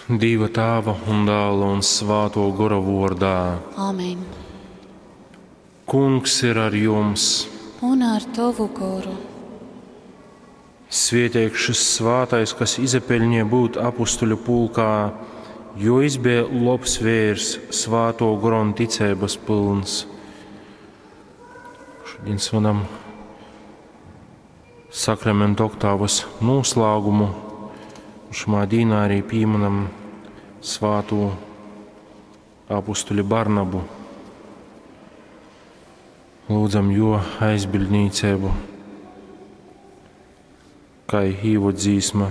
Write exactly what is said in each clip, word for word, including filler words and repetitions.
Dīva Tāva un Dāla un Svāto Gora vuordā. Amen. Kungs ir ar jums. Un ar tovu goru. Svieteigs šis svātais, kas izapeļņīja būt apustuļu pulkā, jo jis bija lobs vērs, svāto gora un ticeibas pylns. Šodien svinam sakramentu oktāvas noslēgumu. Šumā dīnā arī pieminam svāto apustuļu Barnabu. Lūdzam jo aizbildnīcību, kā īvodzīsma,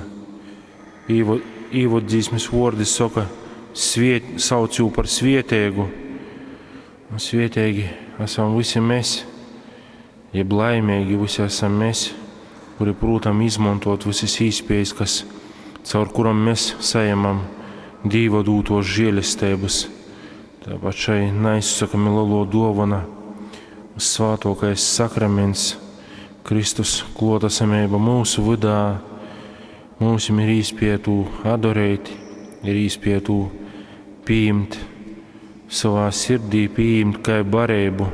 īvo, īvodzīsmes vordi saka, sviet, sauc jū par svietēgu. Un svietēgi esam visi mēs, jeb laimīgi visi esam mēs, kuri prūtam izmantot visas īspējas, kas, caur kuram mēs saņemam Dīva dūtos žēlestības. Tāpat šai neizsakami lielo dovana, svātokais sakraments, Kristus klotasamība mūsu vydā, mums ir īspēja tū adorēt, ir īspēja tū pieņemt savā sirdī, pieņemt kā barību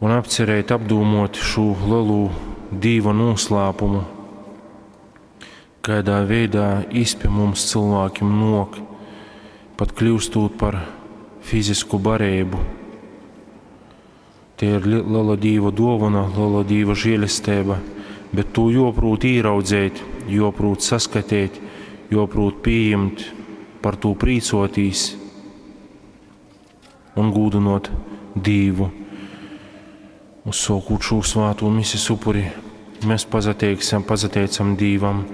un apcerēt, apdūmot šo lielo Dīva noslēpumu, kādā veidā izpie mums cilvēkiem nok, pat kļūstot par fizisku barību. Tie ir liela Dīva dovana, liela Dīva žēlestība, bet to joprūt īraudzēt, joprūt saskatīt, joprūt pieņemt, par to prīcotīs un gūdinot Dīvu. Uzsākot šo svāto mises upuri, mēs pazateiksim, pazateicam Dīvam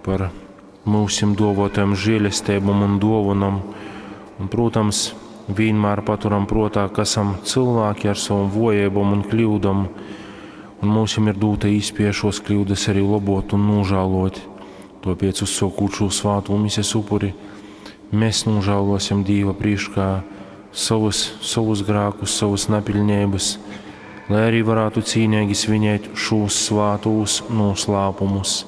par mūsim dovotajam žēlestībam un dovanam. Un, protams, vienmēr paturam prātā, ka esam cilvēki ar savam vojībām un kļūdām, un mūsim ir dota īspēja šos kļūdas arī labot un nožēlot. Tāpēc, uzsākot šo svāto mises upuri, mēs nožēlosim Dīva priekšā savus, savus grēkus, savus nepilnības, lai arī varētu cīnīgi svinēt šos svātos noslēpumus.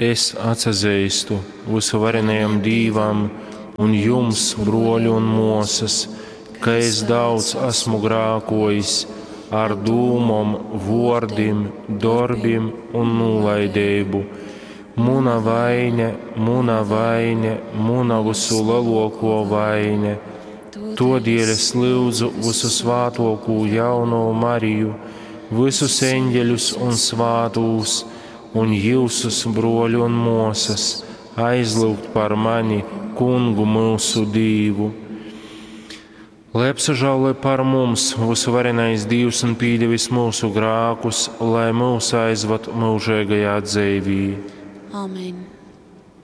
Es atsazīstu visuvarenajam Dīvam un jums, broļi un mosas, ka es daudz esmu grākojis ar dūmom, vordim, darbim un nolaidību. Muna vaine, muna vaine, muna visu lielāko vaine. Todēļ es lūdzu visu svātokū jauno Mariju, visus eņģeļus un svātūs, un jūsus broļu un mosas, aizlūgt par mani, kungu mūsu Dīvu. Lai apsažāloj par mums visuvarenais Dīvs un pīdevis mūsu grākus, lai mūs aizvad mūžīgajā dzīvī. Amen.